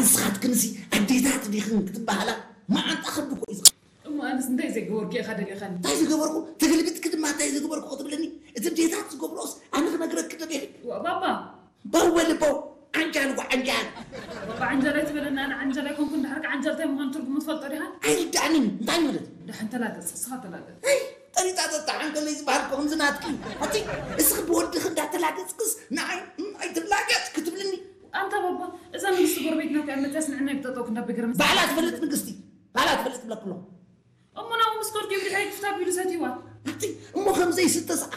ንስኻትክንሲ ኣዴታት ዲኽን ክትበሃላ መዓንጣ ከብዲ እኮ እዩ ዝኸ- እሞ ኣነስ እንታይ ዘይገበርኩ ኢኻ ደሊኻኒ? እንታይ ዝገበርኩ? ተገልቢጥኪ ድማ እንታይ ዝገበርኩ ክትብለኒ? እቲ ኣዴታት ዝገብርኦስ ኣነ ክነግረኪ ደሊኺ? ዋ ባባ በው በሊ በው። ዓንጃል ጓ ዓንጃል። ባባ ዓንጃል ኣይትበለና። ኣነ ዓንጃል ኣይኮንኩን። ድሓር ከ ዓንጃል እንታይ ምዃኑ ትርጉሙ ትፈልጦ ዲኻ? ኣይርድኣንን። እንታይ ማለት? ደሓን ተላገጽ፣ እስኻ ተላገጽ። ጠሪጣ ጠጣ ዓንቀለይ ዝበሃል እኮ ከምዚ ናትኪ። ኣቲ እስኺ ብወድኺ እንዳተላገጽክስ ንዓይ እም ኣይትላገጽ ክትብልኒ? ኣንታ ባባ፣ እዛ ንግስቲ ጎረቤትና እኮ እያ መፅያስ ንዕና ይብጠጠው ክንዳ ብግርም ባዕላ ትፈልጥ ንግስቲ፣ ባዕላ ትፈልጥ ብለክሎ። እሞ ናብኡ ምስ ከድኩ እዩ ብድሕሪ ክፍታ ቢሉ ሰትይዋ። ኣቲ እሞ ከምዘይስተስ